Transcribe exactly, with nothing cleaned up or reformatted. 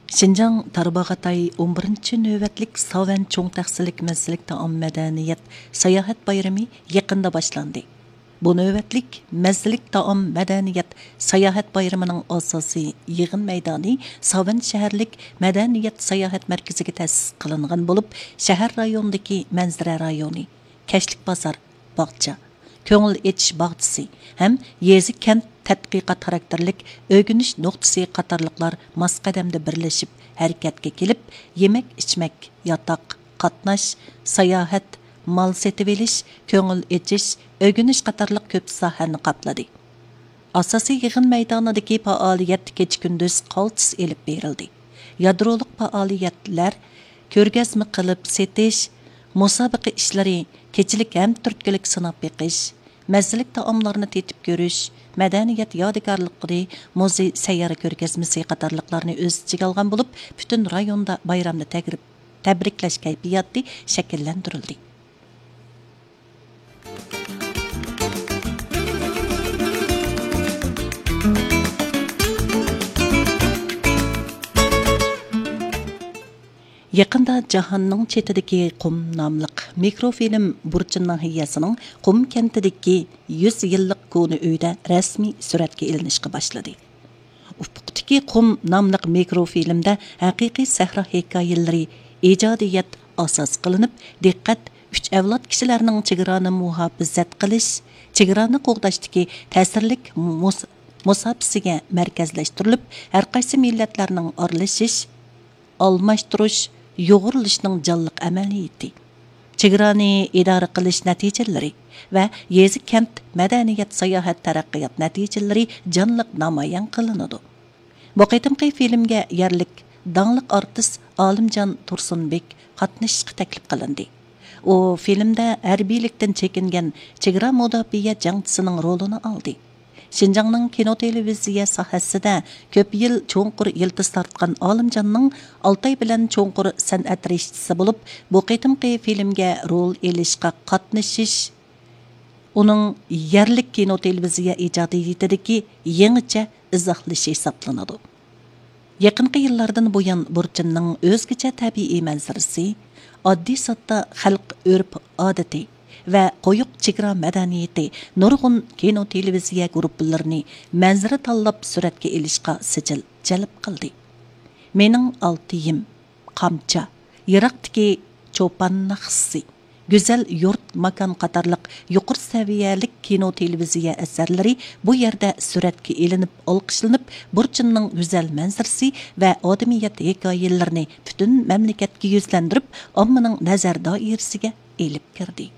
شىنجاڭ تارباغاتاي ئون بىرىنچى نۆۋەتلىك ساۋەن چوڭ تەخسىلىك مەززىلىك تائام مەدەنىيەت ساياھەت بايرىمى يېقىندا باشلاندى. بۇ نۆۋەتلىك مەززىلىك تائام مەدەنىيەت ساياھەت بايرىمىنىڭ ئاساسىي يىغىن مەيدانى ساۋەن شەھەرلىك مەدەنىيەت ساياھەت مەركىزىگە تەسىس قىلىنغان بولۇپ، شەھەر رايونىدىكى مەنزىرە رايونى، كەچلىك بازار، باغچە، كۆڭۈل ئېچىش باغچىسى ھەم يېزا، كەنت تەتقىقات خاراكتېرلىك ئۆگىنىش نۇقتىسى قاتارلىقلار ماس قەدەمدە بىرلىشىپ ھەرىكەتكە كېلىپ، يېمەك، ئىچمەك، ياتاق، قاتناش، ساياھەت، مال سېتىۋېلىش، كۆڭۈل ئېچىش، ئۆگىنىش قاتارلىق كۆپ ساھەنى قاپلىدى. ئاساسىي يىغىن مەيدانىدىكى پائالىيەت كېچە-كۈندۈز قالتىس ئېلىپ بېرىلدى. يادرولۇق پائالىيەتلەر، كۆرگەزمە قىلىپ سېتىش، مۇسابىقە ئىشلىرى، كېچىلىك ھەم تۈرتكىلىك سىناپ بېقىش، مەززىلىك تائاملارنى تېتىپ كۆرۈش، مەدەنىيەت يادىكارلىقلىرى، مۇزېي سەييارە كۆرگەزمىسى قاتارلىقلارنى ئۆز ئىچىگە ئالغان بولۇپ، پۈتۈن رايوندا بايرامنى تەگرىپ-، تەبرىكلەش كەيپىياتى شەكىللەندۈرۈلدى. يېقىندا جاھاننىڭ چېتىدىكى قۇم ناملىق مىكروفىلىم بۇرچىن ناھىيەسىنىڭ قۇم كەنتىدىكى يۈز يىللىق كونا ئۆيدە رەسمىي سۈرەتكە ئېلىنىشقا باشلىدى. ئۇپۇقتىكى قۇم ناملىق مىكروفىلىمدە ھەقىقىي سەھرا ھېكايىلىرى ئىجادىيەت ئاساس قىلىنىپ، دىققەت ئۈچ ئەۋلاد كىشىلەرنىڭ چېگرانى مۇھاپىزەت قىلىش، چېگرانى قوغداشتىكى تەسىرلىك مۇس-، مۇساپىسىگە مەركەزلەشتۈرۈلۈپ، ھەرقايسى مىللەتلەرنىڭ ئارىلىشىش، ئالماشتۇرۇش، يۇغۇرۇلۇشنىڭ جانلىق ئەمەلىيىتى، چېگرانى ئىدارە قىلىش نەتىجىلىرى ۋە يېزا، كەنت، مەدەنىيەت، ساياھەت، تەرەققىيات نەتىجىلىرى جانلىق نامايان قىلىنىدۇ. بۇ قېتىمقى فىلىمگە يەرلىك داڭلىق ئارتىس ئالىمجان تۇرسۇنبېك قاتنىشىشقا تەكلىپ قىلىندى. ئۇ فىلىمدە ھەربىيلىكتىن چېكىنگەن چېگرا مۇداپىئە جەڭچىسىنىڭ رولىنى ئالدى. شىنجاڭنىڭ كىنو تېلېۋىزىيە ساھەسىدە كۆپ يىل چوڭقۇر يىلتىز تارتقان ئالىمجاننىڭ ئالتاي بىلەن چوڭقۇر سەنئەت رىشتىسى بولۇپ، بۇ قېتىمقى فىلىمگە رول ئېلىشقا قاتنىشىش ئۇنىڭ يەرلىك كىنو تېلېۋىزىيە ئىجادىيىتىدىكى يېڭىچە ئىزاھلىشى ھېسابلىنىدۇ. يېقىنقى يىللاردىن بۇيان بۇرچىننىڭ ئۆزگىچە تەبىئىي مەنزىرىسى، ئاددىي ساددا خەلق ئۆرپ-ئادىتى ۋە قويۇق چېگرا مەدەنىيىتى نۇرغۇن كىنو تېلېۋىزىيە گۇرۇپپىلىرىنى مەنزىرە تاللاپ سۈرەتكە ئېلىشقا سىجىل جەلپ قىلدى. مېنىڭ ئالتىيىم، قامچا، يىراقتىكى چوپان ناخشىسى، گۈزەل يۇرت ماكان قاتارلىق يۇقىرى سەۋىيەلىك كىنو تېلېۋىزىيە ئەسەرلىرى بۇ يەردە سۈرەتكە ئېلىنىپ ئالقىشلىنىپ، بۇرچىننىڭ گۈزەل مەنزىرىسى ۋە ئادىمىيەت ھېكايىلىرىنى پۈتۈن مەملىكەتكە يۈزلەندۈرۈپ، ئاممىنىڭ نەزەر دائىرىسىگە ئېلىپ كىردى.